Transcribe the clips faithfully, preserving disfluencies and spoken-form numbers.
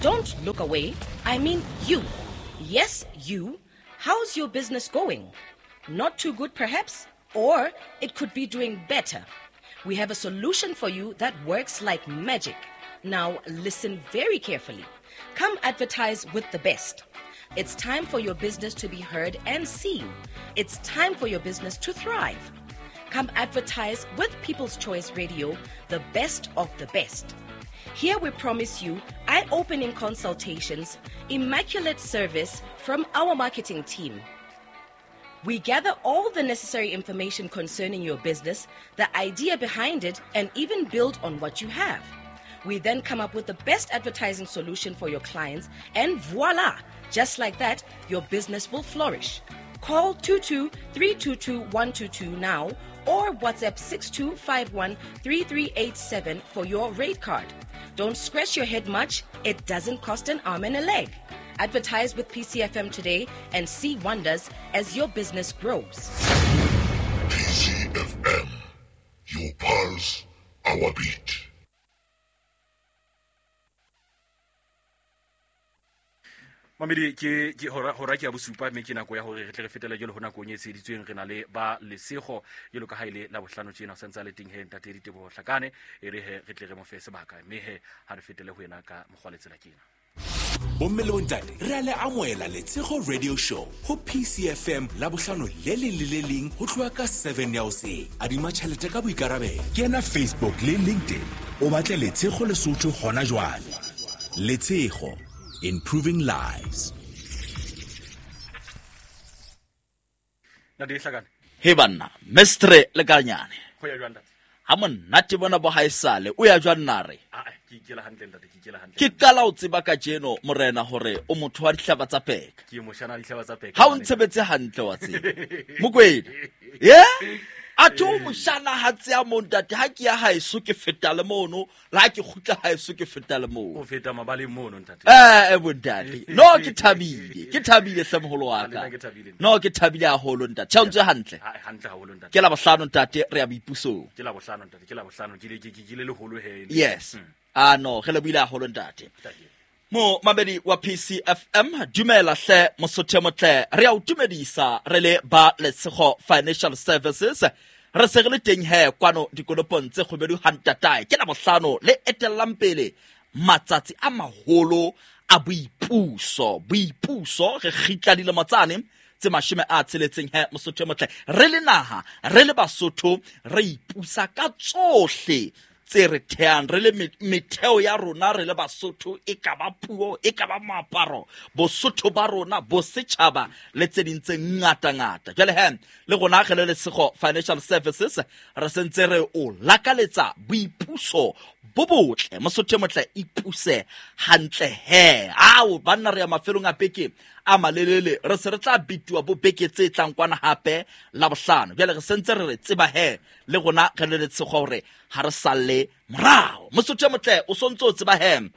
Don't look away. I mean you. Yes, you. How's your business going? Not too good, perhaps? Or it could be doing better. We have a solution for you that works like magic. Now, listen very carefully. Come advertise with the best. It's time for your business to be heard and seen. It's time for your business to thrive. Come advertise with People's Choice Radio, the best of the best. Here we promise you eye-opening consultations, immaculate service from our marketing team. We gather all the necessary information concerning your business, the idea behind it, and even build on what you have. We then come up with the best advertising solution for your clients, and voila! Just like that, your business will flourish. Call two two three two two one two two now or WhatsApp six two five one three three eight seven for your rate card. Don't scratch your head much. It doesn't cost an arm and a leg. Advertise with P C F M today and see wonders as your business grows. P C F M, your pulse, our beat. Mamedi ke ke hora hora ke ya bosupa mme ke nako ya hore re tle re fetele jwalo ho nakong e tsheditsweng re na le ba Lesego jwalo ka ha ile la bohlano tjena o santse a le teng he ntate Diteboho Hlakane e re he re tle re mo fe sebaka mme he ha re fetele ho yena ka mokgwa le tsela kena. Bomme le bontate re a le amohela Letshego Radio Show ho P C F M la bohlano le leng le le leng ho tloha ka seven ya hoseng. Adima tjhelete ka boikarabelo. Kena Facebook le LinkedIn o batle Letshego Lesotho hona jwale. Letshego, improving lives. Ntate Hlakane. He banna, mestre le kanyane. Ho ya jwang ntate? Ha monate bona bo haesale, o ya jwang nare? Ah, ke ikela hantle ntate, ke ikela hantle. Ke qala o tseba kajeno morena hore o motho wa dihlaba tsa peka. Ke moshana dihlaba tsa peka. Ha o ntshebetse hantle wa tseba. Mokwena. Yeah? A tho moshana ha tseya mo ntate ha ke ya haeso ke feta le mono, la ha ke kgutla haeso ke feta le mono. O feta mabaleng mono ntate. Eh, eh bontate. No ke thabile, ke thabile hle moholo wa ka. No ke thabile haholo ntate. Tjhe o ntse hantle. Ha hantle haholo ntate. Ke la bohlano ntate re ya boipusong. Ke la bohlano ntate, ke la bohlano ke ke ke le leholo he. Yes. Ah no, re le buile haholo ntate. Mo mabedi wa P C F M dumela hle mosotho motle re a o tumedisa re le ba Letshego Financial Services re se re le teng he kwano dikolopong tse kgobedu hantatae ke la bohlano le etellang pele matsatsi a maholo a boipuso boipuso re kgitla dilemo tsane tse mashome a tsheletseng he mosotho motle re le naha re le Basotho re ipusa ka tsohle tse re theang re le metheo ya rona re le Basotho e ka ba puo e ka ba moaparo Bosotho ba rona bo setjhaba le tse ding tse ngata ngata jwale he le rona re le Letshego Financial Services re sentse re o lakaletsa boipuso bo botle mosotho motle ipuse hantle he ao banna re ya mafelong a beke a malelele re se re tla bituwa bo beke tse tlang kwana hape la bohlano jwale re sentse re re tseba he le rona re le Letshego hore ha re salle morao mosotho motle o sontse o tseba he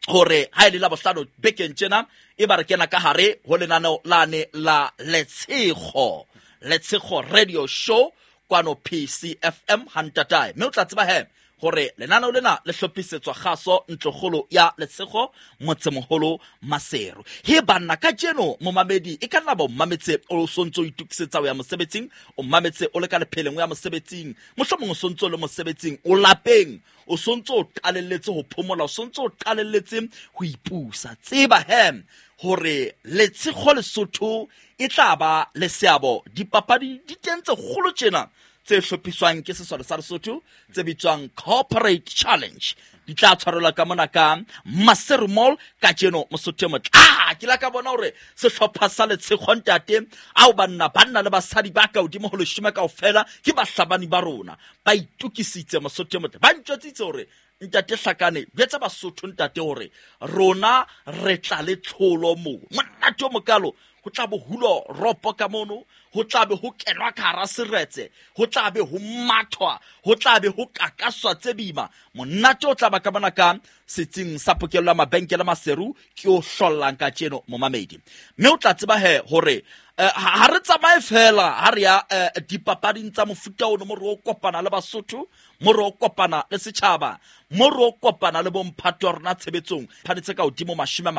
hore ha ile la bohlano bekeng tjena e ba re kena ka hare ho lenaneo lane la Letshego Letshego Radio Show kwano P C F M hantatae mme o tla tseba he hore lenaneo lena le hlophisetswa kgaso ntlokgolo ya Letshego motsemoholo Maseru. He banna kajeno momamedi e ka nna ba o mametse o sontso o itokisetsa ho ya mosebetsing, o mametse o le ka lepheleng o ya mosebetsing, mohlomong o sontso le mosebetsing o lapeng, o sontso o qalelletse ho phomola, o sontso o qalelletse ho ipusa. Tseba he hore Letshego Lesotho e tla ba le seabo dipapadi di teng tse kgolo tjena tse hlophiswang ke sesole sa Lesotho tse bitswang Corporate Challenge di tla tshwarelwa ka mona ka Maseru Mall kajeno mosotho motle. Ah, ke la ka bona hore sehlopha sa Letshego ntate ao banna banna le basadi ba ka hodimo ho leshome kaofela ke bahlabani ba rona ba itokisitse mosotho motle ba ntjotsitse hore ntate Hlakane jwetsa Basotho ntate hore rona re tla le tlholo mo monate o mokalo Ho tla bo hulo ropo ka mono, ho tla be ho kenwa ka hara seretse, ho tla be ho mathwa, ho tla be ho kakaswa tse boima. Monate o tla ba ka mona ka setsing sa pokello ya mabenkele Maseru ke o hlollang ka tjeno momamedi. Mme o tla tseba he hore eh, ha ha re tsamaye fela ha re ya eh, dipapading tsa mofuta ono, mo re o kopana le Basotho, mo re o kopana le setjhaba, mo re o kopana le bomphato wa rona tshebetsong phane tse ka hodimo mashome a